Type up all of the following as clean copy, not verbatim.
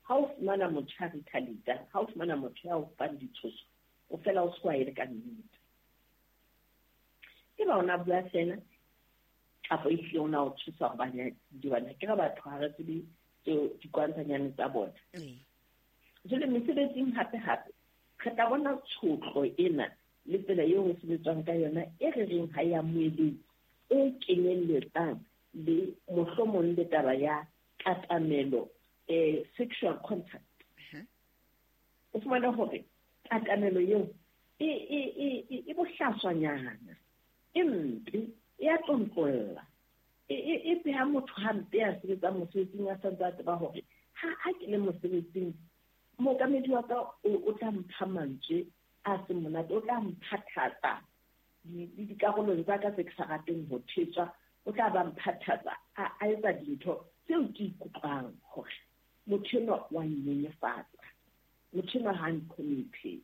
Ha o fumana motho a retaliate, ha o fumana motho ya o fang ditshoso, o fela o se wa e re ka nnete. Eba ona bua fela kapa ehlile o na o tshosa hobane dibana ke re batho ha re tsebe tseo dikwantanyane tsa bona. Jwale mesebetsing hape hape re tla bona tshotlo ena le tsela eo ho sebetswang ka yona e re reng ha ya moeletsi e kenyelletsang le mohlomong le taba ya katamelo, sexual contact. O fumana hore katamelo eo e bohlaswanyana, e mpe, e a tlontlolla, e beha motho hampe a sebetsang mosebetsing a santse a tseba hore ha ke le mosebetsing mookamedi wa ka o tla mpha mantswe a seng monate, o tla mphathatsa le dikarolong tsa ka tse ke sa rateng ho thetswa, o tla ba mphathatsa a etsa dintho tseo ke ikutlwang hore motho enwa wa nnyenyefatsa, motho enwa ha ntlhomphe,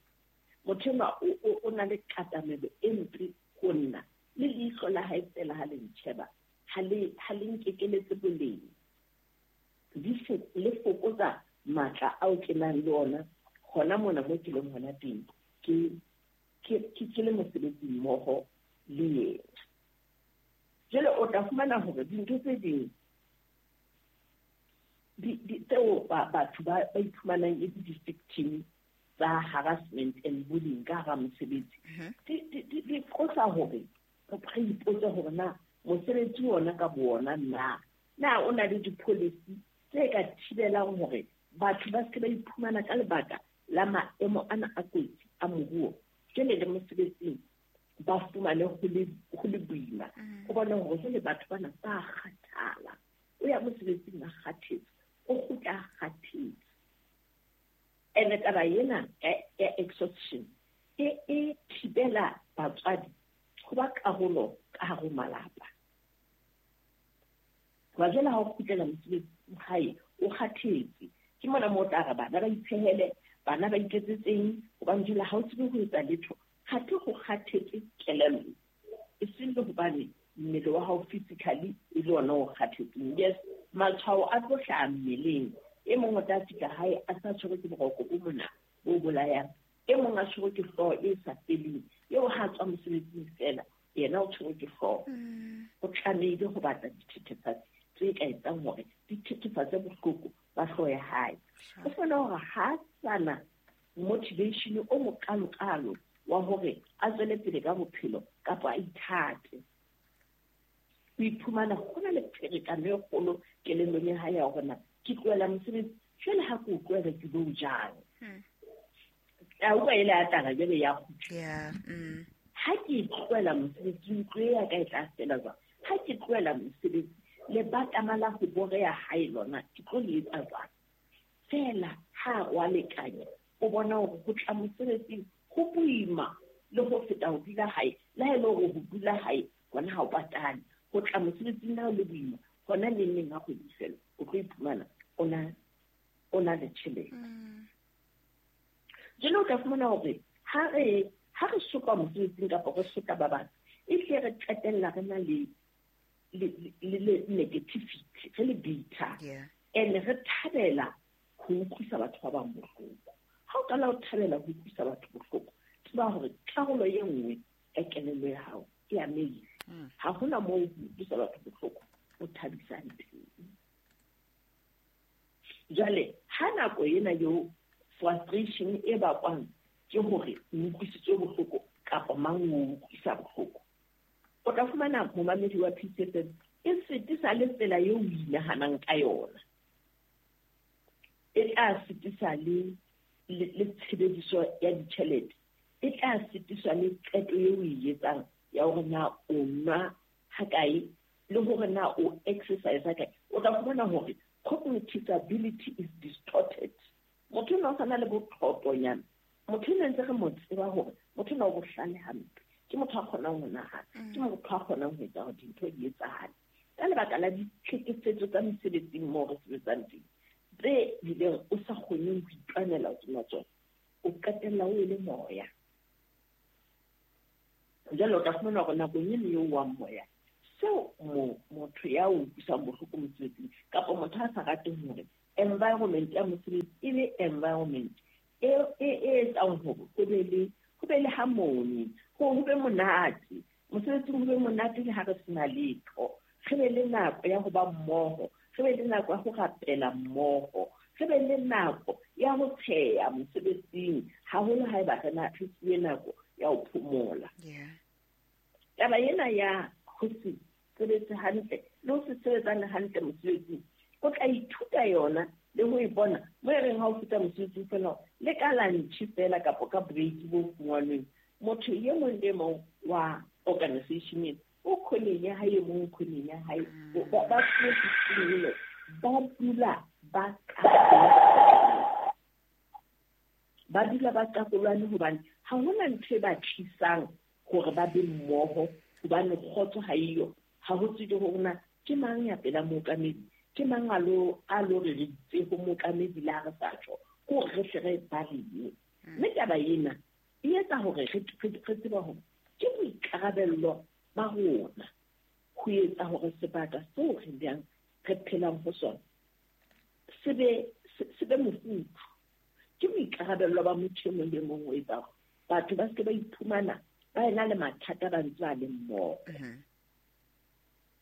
motho enwa o na le katamelo e mpe ho nna, le leihlo la hae fela ha le ntjheba ha le nkekeletse boleng, le fokotsa matla ao ke nang le ona hona mona mo ke leng hona teng, ke le mosebetsi mmoho le yena. Jwale o tla fumana hore dintho tse ding tseo batho ba iphumanang e le di-victim tsa harassment and bullying ka hara mosebetsi, di qosa hore re ipotse hore na mosebetsi ona ka bo ona na o na le di-policy tse ka thibelang hore batho ba se ba iphumana ka lebaka la maemo ana a kotsi a moruo, jwale le mosebetsing ba fumane ho le boima. O bone hore jwale batho bana ba kgathala, o ya mosebetsing a kgathetse, o kgutla a kgathetse. Ene taba ena ya exhaustion e thibela batswadi ho ba karolo ka hare ho malapa. Hoba jwale ha o kgutlela mosebetsing hae o kgathetse, ke mona moo o tla re bana ba itshehele, bana ba iketsetseng, hobane jwale ha o tsebe ho etsa letho, kgathe ho kgathetse kelello, e seng le hobane mmele wa hao physically e le ona o kgathetseng. Yes, matshwao a tlo hlaha mmeleng, e mong o tla fihla hae a sa tshwerwe ke boroko bo mona bo bolayang, e mong a tshwerwe ke hlooho e sa feleng, eo ha tswa mosebetsing fela yena o tshwerwe ke hlooho. O tlamehile ho batla dithethefatsi tse ka etsang hore di thethefatse bohloko ba hlooho ya hae. O fumana hore ha sana motivation o mokalokalo wa hore a tswele pele ka bophelo kapa a ithate. O iphumana ho na le pherekano e kgolo kelellong ya hae ya hore na ke tlohela mosebetsi jwale ha ke o tlohela ke lo jang. A utlwa ele a tlala jwale ya kgutla. Ha ke tlohela mosebetsi ntlo ya ka e tla fela jwang? Ha ke tlohela mosebetsi le batama la ho boreha hae lona ke tlo le etsa jwang? Fela ha wa lekanya o bona hore ho tla mosebetsing ho boima le ho feta ho dula hae, le ha e le hore ho dula hae hona ha o patale, ho tla mosebetsing ha o le boima hona neng neng ha kgwedi fela o tlo iphumana o na le tjhelete. Jwale o tla fumana hore ha re soka mosebetsing kapa re soka ba bang, e hle re qetella re na le negativity, re le bitter, and re thabela ho utlwisa batho ba bang bohloko. Ha o qala o thabela ho utlwisa batho bohloko, tseba hore karolo e nngwe ya kelello ya hao e amehile. Ha hona moo ho utlwisa batho bohloko o thabisang teng. Jwale ha nako ena eo frustration e bakwang ke hore o utlwisitswe bohloko kapa mang o utlwisa bohloko, o tla fumana momamedi wa PCFM e sitisa le tsela eo o inahanang ka yona, e tla sitisa le tshebediso ya ditjhelete, e tla sitiswa le qeto eo o e etsang ya hore na o nwa hakae le hore na o exercise hakae. O tla fumana hore cognitive ability is distorted. Motho ena o sana le bothotonyana, motho ena ntse re mo tseba hore motho ena o bohlale hampe, ke motho a kgonang ho nahana, ke motho a kgonang ho etsa hore dintho di etsahale. Ka lebaka la ditlhekefetso tsa mesebetsing moo re sebetsang teng, tse bileng o sa kgoneng ho itwanela hodima tsona, o qetella o ele moya. Jwale o tla fumana hore nakong eno eo wa moya, seo motho ya o utlwisang bohloko mosebetsing kapa motho a sa rateng hore Environment ya mosebetsi e be environment e etsang hore ho be le harmony, ho be monate. Mosebetsing ho be monate le ha re sena letho. Re be le nako ya ho ba mmoho, re be le nako ya ho rapela mmoho, re be le nako ya ho tsheya mosebetsing, haholo haeba re na re fuwe nako ya ho phomola. Taba ena ya ho se sebetse hantle le ho se sebetsane hantle mosebetsing, o tla ithuta yona le ho e bona mo e reng ha o fihla mosebetsing fela le ka lunch fela kapa ka break bo fungwanweng, motho e mong le mong wa organization o khoneng ya hae, mong khoneng ya hae, ba ba dula ba ba dula ba qakolwane hobane ha hona ntho e ba tlisang hore ba be mmoho, hobane kgotso ha eyo. Ha ho tsebe hore na ke mang ya pela mookamedi, ke mang a lo re re itse ho mookamedi le ha re sa tjho, ke hore re hle re balehe. Mme taba ena e etsa hore re tsebe hore ke boikarabello ba rona ho etsa hore sebaka seo re bang re phelang ho sona se be mofuthu. Ke boikarabello ba motho e mong le mong ho etsa hore batho ba se ke ba iphumana ba ena le mathata ba ntse ba le mmoho.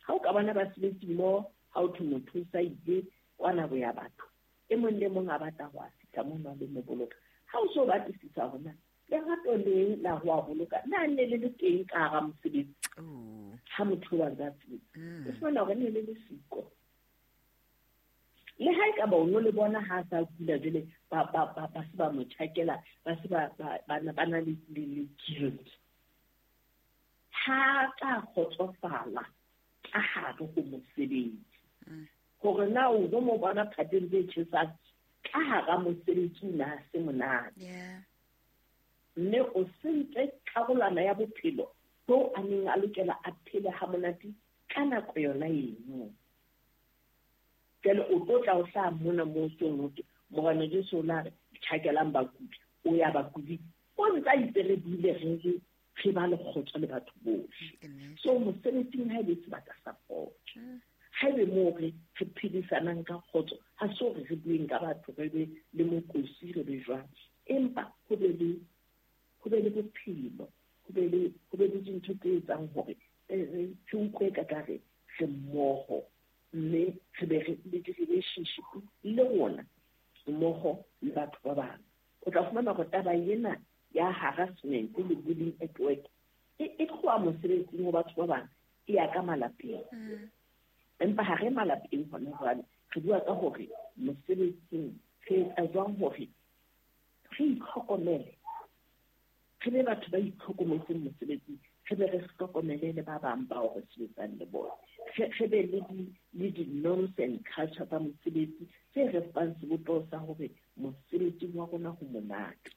Ha o ka bona basebetsi mmoho, ha o thwe motho o sa ile kwana ho ya batho, e mong le mong a batla ho a fihla mono a lo mo boloka. Ha o so batlisisa hore lerato le la ho a boloka na ne le le teng ka hara mosebetsi ha motho wa ntse a sebetsa, o fumana hore ne le le siko. Le ha ekaba o no le bona ha a sa kula jwale ba se ba mo tjhakela, ba se ba na le guilt. Ha ka kgotsofala ka hare ho mosebetsi. Hore na o no mo bona phateng tse tjhesang ka hara mosebetsi o na se monate. Mme o sentse karolwana ya bophelo bo a neng a lokela a phele ha monate ka nako yona eno. Jwale o tlo tla o hlaha mona moo seng ho thwe Morena Jesu o la re tjhakelang bakudi, o ya bakudi, o ntse a itse re dule re ba le kgotso le batho bohle. So mosebetsing ha e be sebaka sa kgotso, ha ebe moo re phedisanang ka kgotso, ha se hore re bueng ka batho re be le mokosi re be jwang, empa ho be le bophelo, ho be le dintho tse etsang hore re utlwe ka kare re mmoho, mme re be re le di-relationship le rona mmoho le batho ba bang. O tla fumana hore taba ena ya harassment le bullying at work e tloha mosebetsing ho batho ba bang, e ya ka malapeng. Empa ha re malapeng hona jwale, re bua ka hore mosebetsing re etsa jwang hore re itlhokomele, re be batho ba itlhokometseng mosebetsing, re be re hlokomele le ba bang bao re sebetsang le bona. Re be le di-norms and culture tsa mosebetsi tse re fang sebopeho sa hore mosebetsing wa rona ho monate,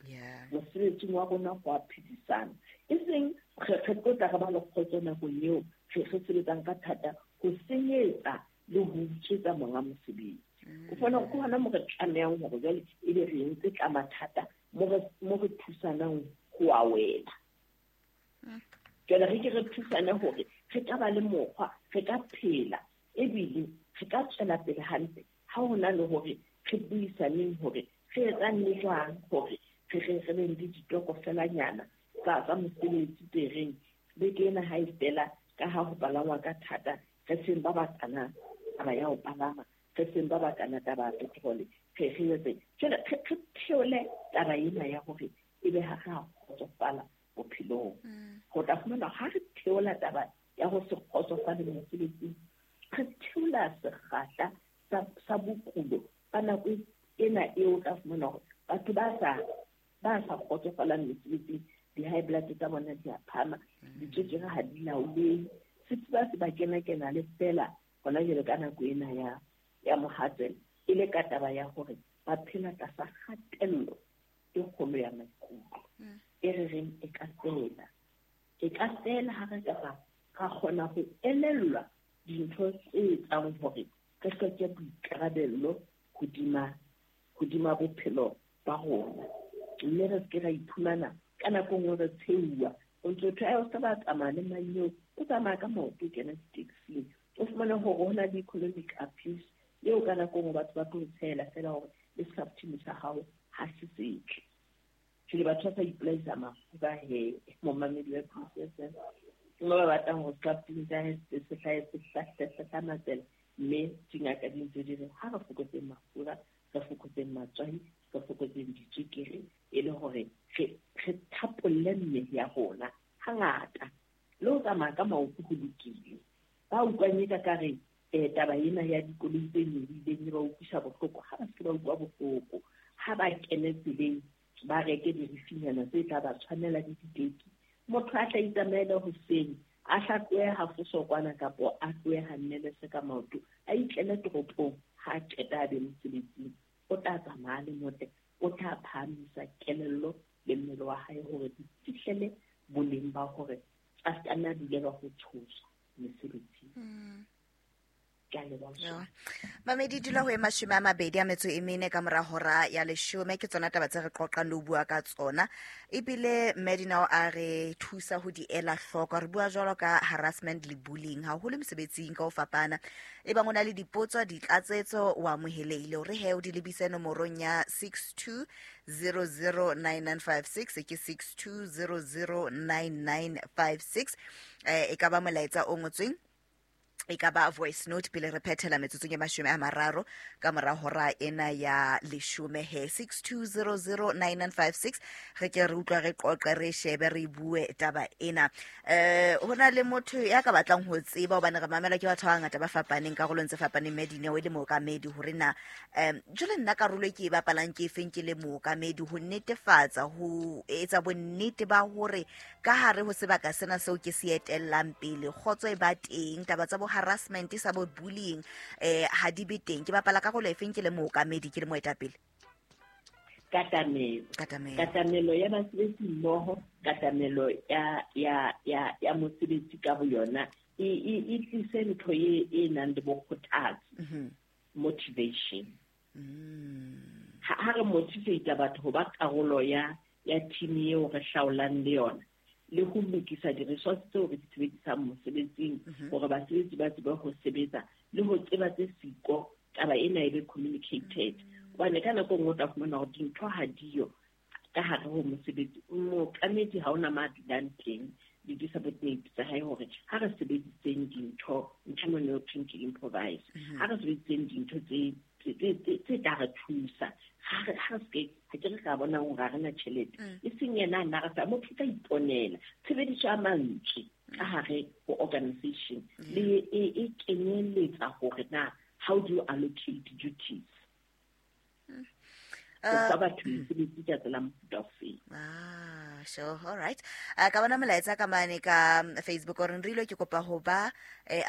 mosebetsing wa rona ho a phedisana. E seng re tlo tla re ba le kgotso nakong eo re sebetsang ka thata ho senyetsa le ho utswetsa monga mosebetsi. O fumana hore ke hona moo re tlamehang hore jwale ebe re entse ka mathata mo re thusanang ho a wela. Jwale re ke re thusane hore re ka ba le mokgwa, re ka phela, ebile re ka tswela pele hantle ha ho na le hore re buisaneng hore re etsang le jwang hore re be le ditokofelanyana tsa mosebetsi tse reng beke ena ha e fela ka ha ho palangwa ka thata, re seng ba batlana taba ya ho palama, re seng ba batlana taba ya petrole, re etse jwale re theole taba ena ya hore ebe ha re a kgotsofala bophelong. Ho tla fumana ha re theola taba ya ho se kgotsofale mosebetsing, re theola sekgahla sa bokulo ka nako ena eo tla fumana hore batho ba sa kgotsofalang mesebetsing, di-high blood tsa bona di a phahama, ditswekere ha di laolehe, sefuba se ba kena-kena le fela hona jwale ka nako ena ya mohatsela, e le ka taba ya hore ba phela tlasa kgatello e kgolo ya maikutlo. E re reng e ka fela ha re ka ra kgona ho elellwa dintho tse etsang hore re hloke boikarabello hodima bophelo ba rona, mme re se ke ra iphumana ka nako nngwe re tsheuwa. O ntso thwe o se ba tsamaya le mang eo, o tsamaya ka maoto o kena di-taxing, o fumane hore ho na le economic abuse Eo ka nako nngwe batho ba tlo tshela fela hore le scaftini sa hao ha se setle. Jwale batho ba sa ipolaisa mafura he, momamedi wa PCSM. Ke mo ba batlang hore scaftini sa hae se hlahe se hlahlamatsela, mme dingaka di ntse di re ha re fokotseng mafura, re fokotseng matswai, re fokotseng ditswekere, e le hore re thapolle mmele ya rona hangata. Le ho tsamaya ka maoto ho lokile. Ba utlwang eka ka re taba ena ya dikoloi tse nyolohileng e ba utlwisa bohloko, ha ba se ba utlwa bohloko. Ha ba kene tseleng, ba reke dirifinyana tse tla ba tshwanela le diteki. Motho a tla itsamaele hoseng, a hlatlohe hafoso kwana kapo a tlohe ha nnelese ka maoto, a itlele toropong, ha a qeta a be mosebetsing. O tla tsamaya le motle, o tla phahamisa kelello le mmele wa hae hore di fihlele boleng ba hore a se ka nna a dulelwa ho tshoswa mesebetsing. Mamedi dula ho e 24 ka mora hora ya 10, ke tsona taba tse re qoqang le ho bua ka tsona. Ebile Medinao a re thusa ho di ela hloko. Re bua jwalo ka harassment le bullying haholo mesebetsing ka ho fapana. Ebang o na le dipotso, ditlatsetso, o amohelehile hore he o di lebise nomorong ya 62009956, ke 62009956. E ka ba molaetsa o ngotsweng, e ka ba voice note pele re phethela metsotsong e 30 ka mora hora ena ya 10 he. 62009956, re ke re utlwa, re qoqe, re shebe, re bue taba ena. Ho na le motho ya ka batlang ho tseba, hobane re mamela ke batho ba bangata ba fapaneng karolong tse fapaneng, Medineo e le mookamedi, hore na jwale nna karolo e ke e bapalang ke efeng ke le mookamedi ho netefatsa, ho etsa bonnete ba hore ka hare ho sebaka sena seo ke se etellang pele kgotso e ba teng, taba tsa bo harassment sa bo bullying ha di be teng. Ke bapala karolo efeng ke le mookamedi, ke le moetapele? Katamelo. Katamelo ya basebetsi mmoho, katamelo ya mosebetsi ka boyona e tlise ntho e nang le bokgothatsi, motivation. Ha re motivate batho ho ba karolo ya team eo re hlaolang le yona, le ho lokisa di-resource tseo re di sebedisang mosebetsing hore basebetsi ba tsebe ho sebetsa le ho tseba tse siko, taba ena e be communicated. Hobane ka nako nngwe o tla fumana hore dintho ha diyo ka hare ho mosebetsi, mookamedi ha ona ma dulang teng le di-subordinate tsa hae hore ha re sebediseng dintho, ntho e mone ho thweng ke improvise, ha re sebediseng dintho tse tla re thusa. Ha re se ha ke re ka bona hore ha re na tjhelete, e seng yena nna re sa motho tla iponela. Tshebediso ya mantswe ka hare ho organization le e kenyeletsa hore na how do you allocate duties. Ho batho mesebetsi ka tsela mofuta ofeng. Sure, all right. Ka bona molaetsa ka mane ka Facebook o re nrile ke kopa ho ba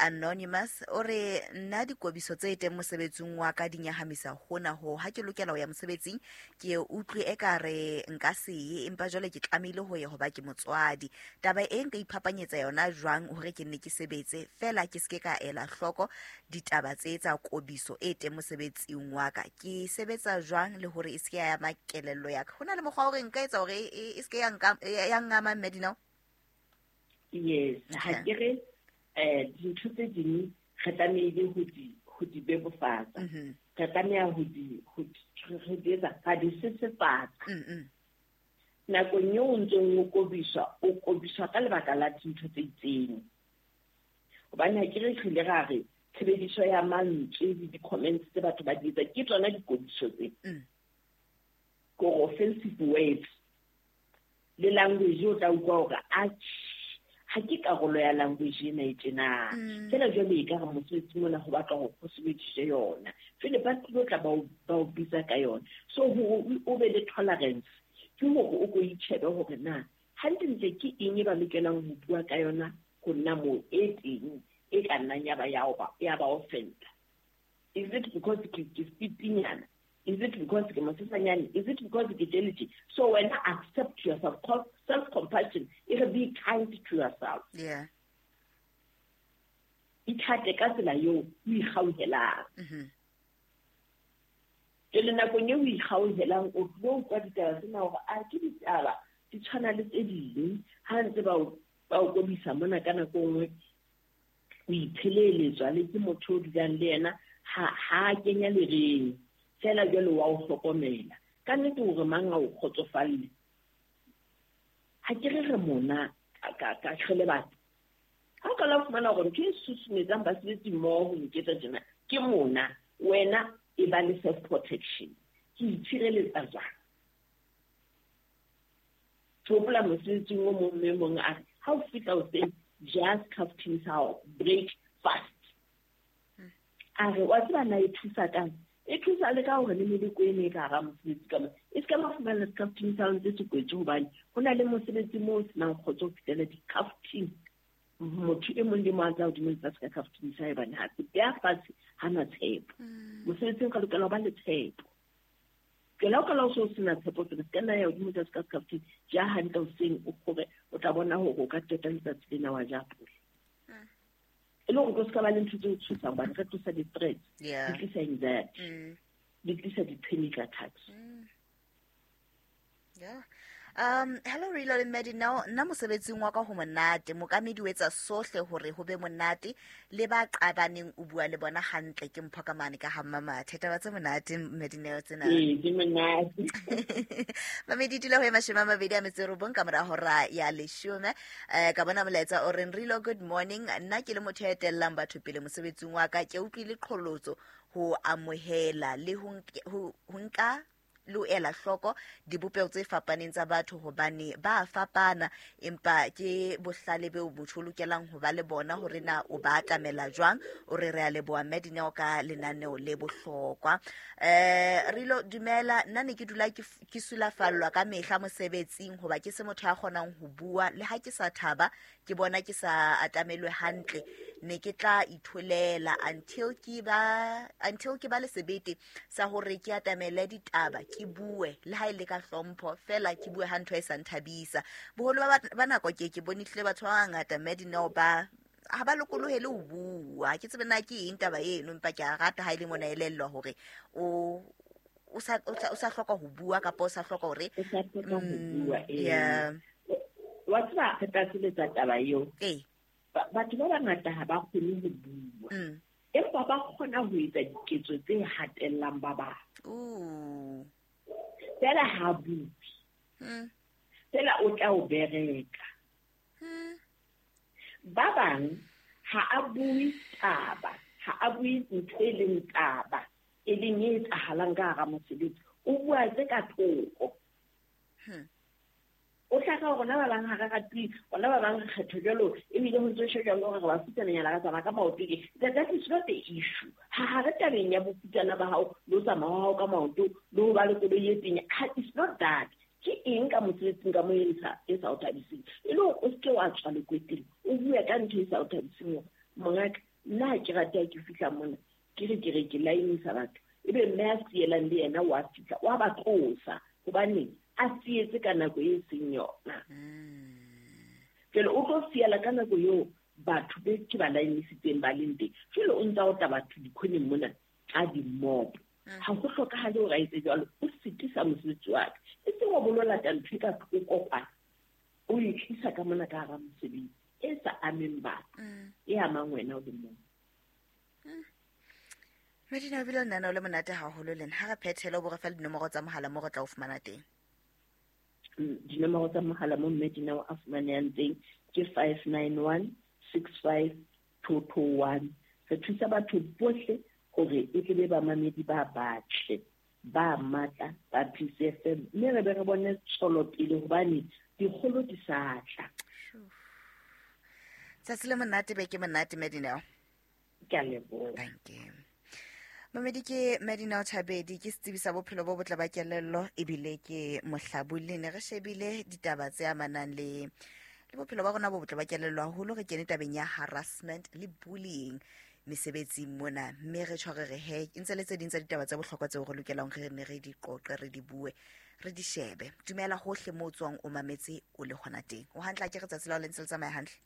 anonymous, o re nna dikobiso tse teng mosebetsing wa ka di nyahamisa hona ho ha ke lokela ho ya mosebetsing ke utlwe e ka re nka se ye, empa jwale ke tlamehile ho ya hoba ke motswadi. Taba e nka iphapanyetsa yona jwang hore ke nne ke sebetse fela ke seke ka ela hloko ditaba tse tsa kobiso e teng mosebetsing wa ka, ke sebetsa jwang le hore e seke ya ama kelello ya ka? Ho na le mokgwa hore nka etsa hore e seke ya nka ya ngama Medinao? Yes, ha ke re dintho tse ding re tlamehile ho di bebofatsa. Re tlameha ho di etsa, ra di sesefatsa. Nakong eo o ntseng o kobiswa, o kobiswa ka lebaka la dintho tse itseng. Hobane ha ke re hlile ra re tshebediso ya mantswe le di-comments tse batho ba di etsa ke tsona dikobiso tse. Kore offensive words le language o tla utlwa hore ha ke karolo ya language ena e tjena. Feela jwale e ka re mosebetsi mona ho batla hore ho sebediswe yona. Jwale ba tlilo tla ba o bitsa ka yona. So o be le tolerance ke hore o ko itjhebe hore na hantlentle ke eng e ba lokelang ho bua ka yona ho nna moo e teng e ka nnang ya ba ya ba offender. Is it because ke fitinyana? Is it because ke mosesanyane? Is it because ke jealousy? So when I accept yourself, self-compassion, it be kind to yourself. Yeah. Ithate ka tsela eo o ikgauhelang. Jwale nakong eo o ikgauhelang, o tlo utlwa ditaba tsena hore a ke ditaba di tshwana le tse ding. Ha ntse ba o kobisa mona ka nako nngwe, o ipheleletswa le ke motho o dulang le yena, Ha kenya lereng fela jwale wa o hlokomela. Ka nnete hore mang a o kgotsofalle. Ha ke re mona ka re le batho. Ha o ka la fumana hore ntho e susumetsang basebetsi mmoho ho nketsa tjena ke mona, wena e ba le self protection. Ke itshireletsa jwang? Ke hopola mosebetsing o mong mme mong a re, ha o fihla hoseng, ja skhaftin sa hao, break fast. A re, wa tseba na e thusa kang? E thusa le ka hore le meleko e ne e ka hara mosebetsi ka mona. E se ka ba fumana skhaftin sa hao ntse se kwetswe hobane ho na le mosebetsi moo o senang kgotso ho fihlela di-khaftin. Motho e mong le mong a tla hodimo lefatshe ka khaftin sa hae hobane ha se beha fatshe, ha na tshepo. Mosebetsing ka lokela ho ba le tshepo. Jwale ha o kala o so sena tshepo tsena, se ka nna ya hodimo tlase ka skhaftin, ja hantle hoseng o kgore, o tla bona hore o ka qeta letsatsi lena wa ja pole. E le hore o se ka ba le ntho tse o tshosang hobane re tlosa di-threats, di tlisa anxiety, di tlisa di-panic attacks. Yeah. Hello Rilo le Medina, nna mosebetsing wa ka ho monate, mokamedi o etsa sohle hore ho be monate, le ba qabaneng o bua le bona hantle, ke mpho ka mane ka ha Mmamathe. Taba tse monate Medina tsena. Ee, ke monate. Mamedi dula ho e 29 ka mora hora ya 10. Ka bona molaetsa o reng Rilo good morning, nna ke le motho ya etellang batho pele mosebetsing wa ka, ke utlwile qholotso ho amohela le ho nka le ho ela hloko dibopeho tse fapaneng tsa batho hobane ba fapana, empa ke bohlale beo motho o lokelang ho ba le bona hore na o ba atamela jwang. O re re a leboha Medina ka lenaneo le bohlokwa. Rilo dumela, nna ne ke dula ke sulafallwa ka mehla mosebetsing hoba ke se motho ya kgonang ho bua, le ha ke sa thaba ke bona ke sa atamelwe hantle, ne ke tla itholela until ke ba le sebete sa hore ke atamele ditaba, ke bue le ha e le ka hlompho fela, ke bue ha ntho e sa nthabisa. Boholo ba nako ke bone hlile batho ba bangata Medina ba ha ba lokolohele ho bua. Ke tsebe na ke eng taba eno, empa ke a rata ha e le mona elellwa hore o sa hloka ho bua kapa o sa hloka hore o sa hloka ho bua. Wa tseba re tla sebetsa taba eo. Batho ba bangata ha ba kgone ho bua, empa ba kgona ho etsa diketso tse hatellang ba bang. Fela ha bue, fela o tla o bereka. Ba bang ha a bue taba, ha a bue ntho e leng taba, e leng e etsahalang ka hara mosebetsi, o bua tse ka thoko. O tla ka rona ba bang ha re ratwe, rona ba bang re kgetho jwalo, ebile ho ntso shejwa hore re ba futsananyana ka tsamaya ka maoto ke. That is not the issue. Ha re tabeng ya bofutsana ba hao, le ho tsamaya ha hao ka maoto, le ho ba le koloi e tenya. It's not that. Ke eng ka mosebetsing ka moo e sa o thabiseng? E le hore o se ke wa tswa lekweteng, o bue ka ntho e sa o thabiseng hore, mongaka, nna ha ke rate ha ke fihla mona, ke re ke re ke laenisa batho. Ebe mme a sielang le yena wa fihla, wa ba tlosa, hobane a sietse ka nako e seng yona. Jwale o tlo siela ka nako eo batho be ke ba laenisitseng ba leng teng. Jwale o ntsa o tla batho dikhoneng mona ka di-mob. Ha ho hlokahale hore a etse jwalo, o sitisa mosebetsi wa ka. E seng wa bolo lata ntho e ka thoko kwana, o e tlisa ka mona ka hara mosebetsi e sa ameng batho, e amang wena o le mong. Medina o bile lenaneo le monate haholo lena. Ha re phethele o bo re fa dinomoro tsa mohala moo re tla o fumana teng. Dinomoro tsa mohala mo Medina a fumanehang teng ke 591 65 221. Re thusa batho bohle hore e tle be bamamedi ba batle, ba matla, ba PCFM, mme re be re bone tswelopele hobane dikgolo di sa tla. Tsatsi le monate, beke monate Medina. Ke a leboha. Thank you. Mamedi ke Medina Thabedi, ke setsebi sa bophelo bo botle ba kelello ebile ke mohlabulli. Ne re shebile ditaba tse amanang le bophelo ba rona bo botle ba kelello haholo, re kene tabeng ya harassment le bullying mesebetsing mona, mme re tshware re he ntse le tse ding tsa ditaba tsa bohlokwa tseo re lokelang re ne re di qoqe, re di bue, re di shebe. Dumela hohle moo o tswang o mametse o le hona teng. O hantle, ke re tsatsi la ho le ntse le tsamaya hantle.